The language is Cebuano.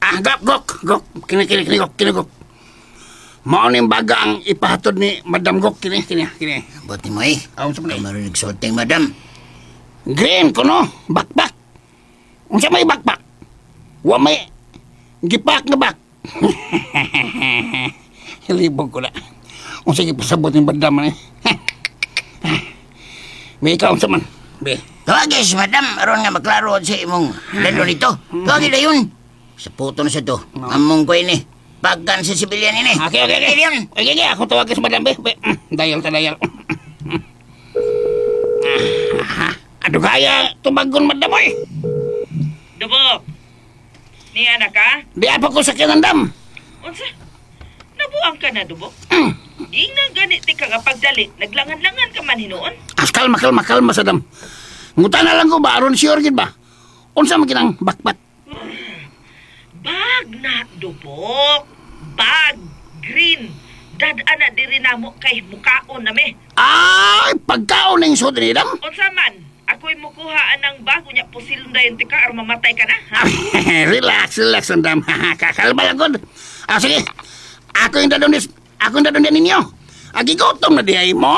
Ah, gok, gok, gok. Kini, kini, kini, gok, kini, gok. Mao ning baga ang ipahatod ni Madam Gok kini, kini, kini. Buti mo eh. Aon sa man eh? Ikaw marinig sulting, madam. Green kuno, bakbak. Unsa may bakbak? Wa may gipak nga bak. Hilibog ko na. Unsa gipasabot ni Madam ni? Be, ikaw unsa man? Be. Tawagi si madam, aron nga maklaro sa imong lalo nito. Tawagi na yun. Sa puto na sa to. Among ko ini. Pagkan sa sibilyan ini. Okay. Yun. Okay. Ako tawag sa Madam, be. Be. Dayal ta dayal. Ah, ano kaya tumagon, Madam, oy? Dubok. Niya na ka? Di apa ko sa kinandam. Unsa? Nabuang ka na, Dubok? Ingnan gani ti ka nga pagdali, naglangan-langan ka man hinuon. As kalma, kalma, kalma sa dam. Nguta na lang ko ba, aron sure gid ba? Unsa man kinang bakbak? Bag na, Dubok. Bag. Green. Dad-ana na diri namo kay mukaon na me. Ay, pagkaon ning sud ni dam. Unsa man? Ako'y mukuha anang bago niya pusilon dayon ti ka aron mamatay ka na, ha? Relax, relax, andam. Kakalma lang gud. Ah, sige. Ako yung dadon, ako yung dadon ninyo. Agi gutom na di ay mo.